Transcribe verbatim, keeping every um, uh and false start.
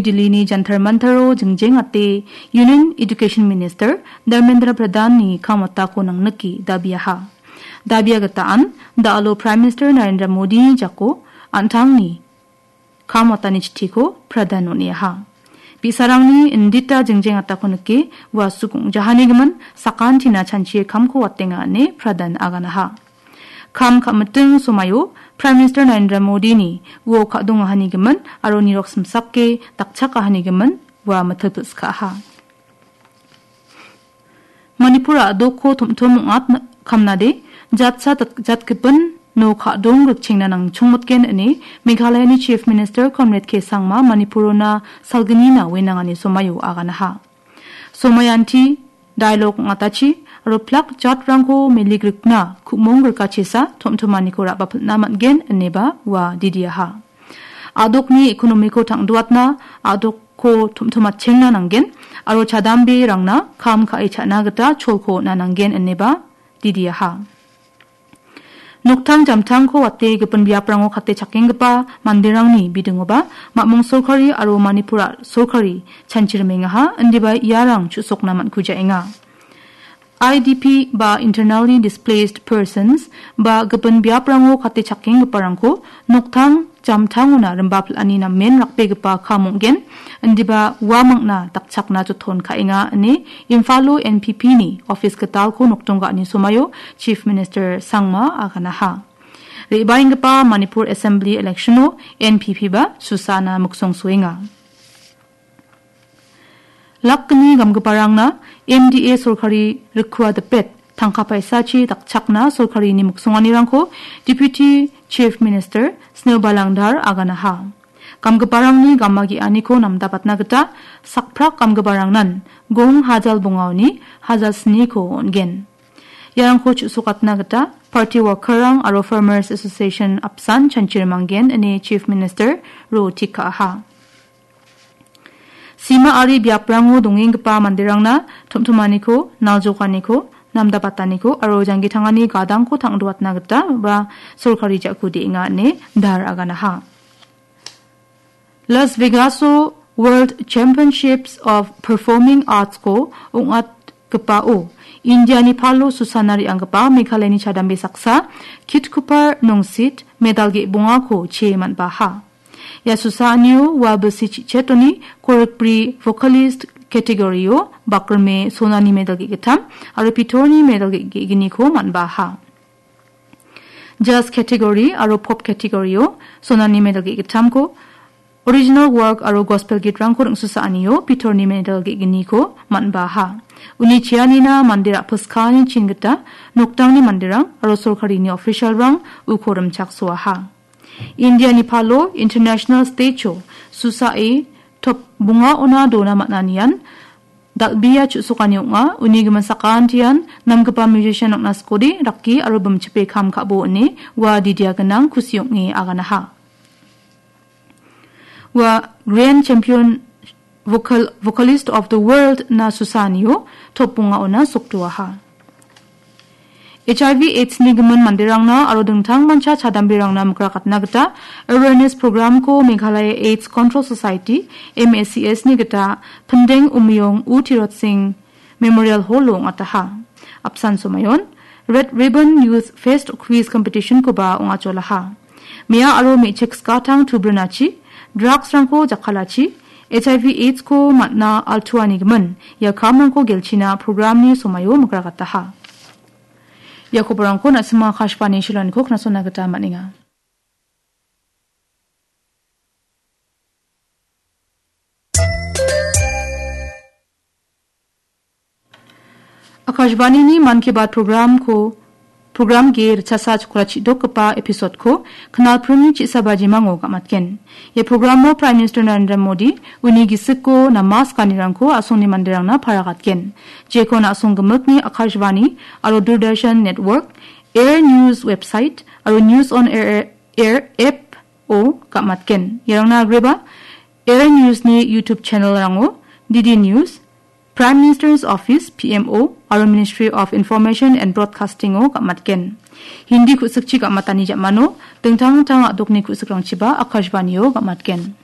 Delhini Jantar Mantaro jingjengate Union Education Minister Dharmendra Pradhanni kam watako nangnike dabiaha. Dabia gitaan da·alo Prime Minister Narendra Modini jako an·tangni kam watani chitiko Pradhan on·eaha. Bi·sarangni indita jingjeng atako nike ua sukong jahanigimin sakantina chanchie kamko watenga ine Pradhan aganaha. Kam ka·miting somaio Prime Minister Narendra Modini uo ka·dongahanigimin aro nirok simsake dakchakahanigimin ua mitilpilskaha. Manipura a·dokko tom·tom ong·at kamnade jatsa dat-, jatgipin no ka·dong rikchengna nangchongmotgen ine Meghalayani Chief Minister Conrad K Sangma Manipurona salgnina wenangani somaio aganaha. Somayanti dialog ong·atachi aro plak jatrangko meligrikna ku·mong grikachisa tom·tomaniko ra·bapilna man·gen ineba ua didiaha. A·dokni ekonomiko tang·duatna, a·dokko tom·tomatchengna nanggen aro chadamberangna kam ka·e cha·na gita cholko on·a nanggen ineba didiaha. Noktang jamtangko wate gipin biaprango kate chakenggipa manderangni bidingoba Mamong sorkari aro Manipura sorkari chanchirimengaha, indiba iarang chu·sokna man·kujaenga. I D P ba Internally Displaced Persons ba gipin biaprango kate chakenggiparangko noktang jamtangona rimba pil·ani namen rakbegipa kam ong·gen, indiba uamangna dakchakna joton ka·enga ine Imphalo N P P ni office gitalko nokdong ga·ani somaio Chief Minister Sangma aganaha. Re·baenggipa Manipur Assembly Electiono N P P ba susana miksongsoenga. Lakgni gamgiparangna M D A sorkari rikua dipet tangka paisachi dakchakna sorkarini miksonganirangko Deputy Chief Minister Snowball Langdar aganaha. Gamgiparangni gama ge·aniko namdapatna gita sakprak gamgiparangnan gong hajal bongaoni hajal sniko on·gen. Iarangko chu·sokatna gita party workerrang aro Farmers Association apsan chanchirimanggen ine Chief Minister ro tikaha. Sima ari biaprango dongenggipa manderangna tom·tomaniko, naljokaniko, namdabataniko aro janggi tangani gadangko tang·doatna gita ba sorkari ja·ku de·enga ine dar aganaha. Las Vegaso World Championships of Performing Artsko ong·atgipao Indiani palo susana re·anggipa Meghalayani chadambe saksa Kitkupar Nongsit medal ge·bongako chee man·baha. Ia susaanio ua bilsi chi·chetoni korikbri vocalist category-o bakrime sonani medal ge·gittam aro pitorni medal ge-, ge·gniko man·baha. Jazz category aro pop category-o sonani medal ge·gittamko, original work aro gospel gitrangko ring·susaanio pitorni medal ge·gniko man·baha. Uni cheanina mande ra·piskani chin gita noktangni manderang aro sorkarini officialrang uko rimchaksoaha. Indiani palo international stage-o susae top bongaona dona man·anian dal·bea chu·sokani ong·a. Uni gimin sakantian namgipa musician-rangna skode rake aro bimchipe kam ka·bo ine ua didia gnang kusi ong·e aganaha. Ua Grand Champion Vocal-, Vocalist of the World na susaanio top bongaona sokdoaha. H I V AIDS-ni gimin manderangna aro dingtangmancha chadamberangna mikrakatna gita awareness program-ko Meghalaya AIDS Control Society, M A C S-ni gita Pindeng Umyong U Tirot Singh Memorial Hall-o ong·ataha. Apsan somayon Red Ribbon Youth Fest Quiz Competition-koba ong·acholaha. Mea aro me·chik skatang tubrinachi, drugs-rangko jakkalachi, H I V AIDS-ko man·a altuanigimin ia kamrangko gelchina programni somaio mikrakataha. Ia koborangko na·sima Akashvani Shillong-niko knasona gita man·enga. Akashvanini Mann Ki Baat programko, program ge ritchasa chokra chidokgipa episode-ko knalpringni chisa bajimango gamatgen. Ia programo Prime Minister Narendra Modi uni gisiko namas ganirangko a·songni manderangna paragatgen. Jeko na·song gimikni Akashvani aro Doordarshan Network, Air News website aro News on Air, Air app-o gamatgen. Iarangna agreba Air News-ni YouTube channel-rango, D D News, Prime Minister's Office, P M O, aro Ministry of Information and Broadcasting-o gamatgen. Hindi ku·sikchi gamatani jamano dingtang dingtang a·dokni ku·sikrangchiba Akashvani-o gamatgen.